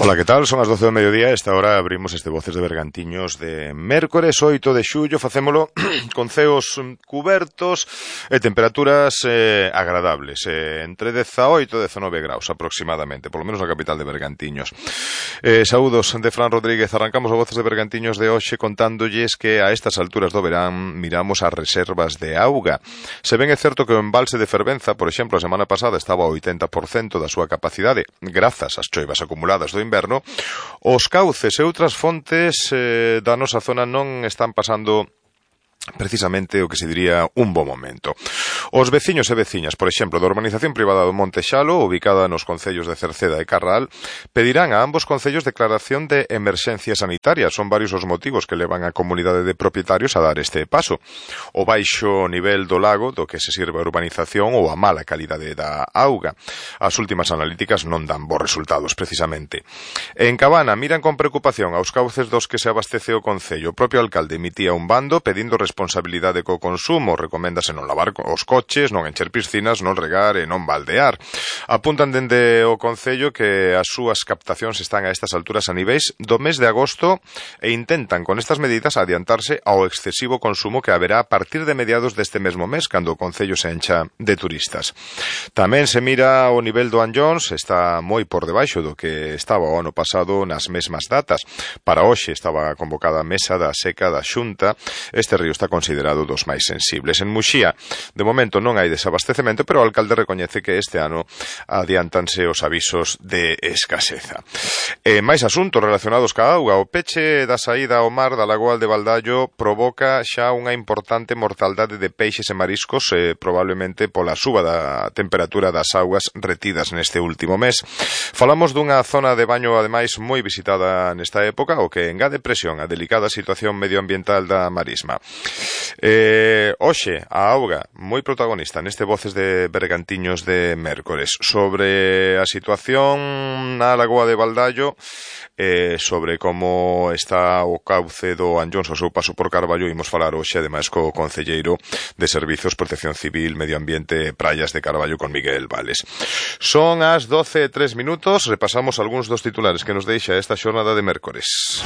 Ola, que tal? Son as 12 do mediodía. Esta hora abrimos este Voces de Bergantiños de mércores 8 de xullo. Facémolo con ceos cubertos e temperaturas agradables, entre 18 e 19 graus aproximadamente, polo menos na capital de Bergantiños. Saúdos de Fran Rodríguez. Arrancamos o Voces de Bergantiños de hoxe contándolles que a estas alturas do verán miramos as reservas de auga. Se ben é certo que o embalse de Fervenza, por exemplo, a semana pasada estaba ao 80% da súa capacidade, grazas ás choivas acumuladas do inverno, os cauces e outras fontes da nosa zona non están pasando precisamente o que se diría un bo momento. Os veciños e veciñas, por exemplo, da urbanización privada do Monte Xalo, ubicada nos concellos de Cerceda e Carral, pedirán a ambos concellos declaración de emerxencia sanitaria. Son varios os motivos que levan a comunidade de propietarios a dar este paso. O baixo nivel do lago do que se sirve a urbanización ou a mala calidade da auga. As últimas analíticas non dan bons resultados, precisamente. En Cabana miran con preocupación aos cauces dos que se abastece o concello. O propio alcalde emitía un bando pedindo responsabilidade co consumo. Recoméndase non lavar os coches, non encher piscinas, non regar e non baldear. Apuntan dende o concello que as súas captacións están a estas alturas a niveis do mes de agosto e intentan con estas medidas adiantarse ao excesivo consumo que haberá a partir de mediados deste mesmo mes, cando o concello se encha de turistas. Tamén se mira o nivel do Anllóns, está moi por debaixo do que estaba o ano pasado nas mesmas datas. Para hoxe estaba convocada a mesa da seca da Xunta. Este río está considerado dos máis sensibles. En Muxía, de momento non hai desabastecemento, pero o alcalde recoñece que este ano adiantanse os avisos de escaseza. Máis asuntos relacionados ca auga. O peche da saída ao mar da Lagoa de Baldallo provoca xa unha importante mortaldade de peixes e mariscos, probablemente pola suba da temperatura das augas retidas neste último mes. Falamos dunha zona de baño, ademais, moi visitada nesta época, o que engade presión á delicada situación medioambiental da marisma. Hoxe, a auga, moi protagonista neste Voces de Bergantiños de mércores, sobre a situación na Lagoa de Baldallo, sobre como está o cauce do Anllóns ao seu paso por Carballo. Imos falar hoxe, ademais, co concelleiro de Servizos, Protección Civil, Medio Ambiente e Praias de Carballo, con Miguel Vales. Son as 12:03. Repasamos algúns dos titulares que nos deixa esta xornada de mércores.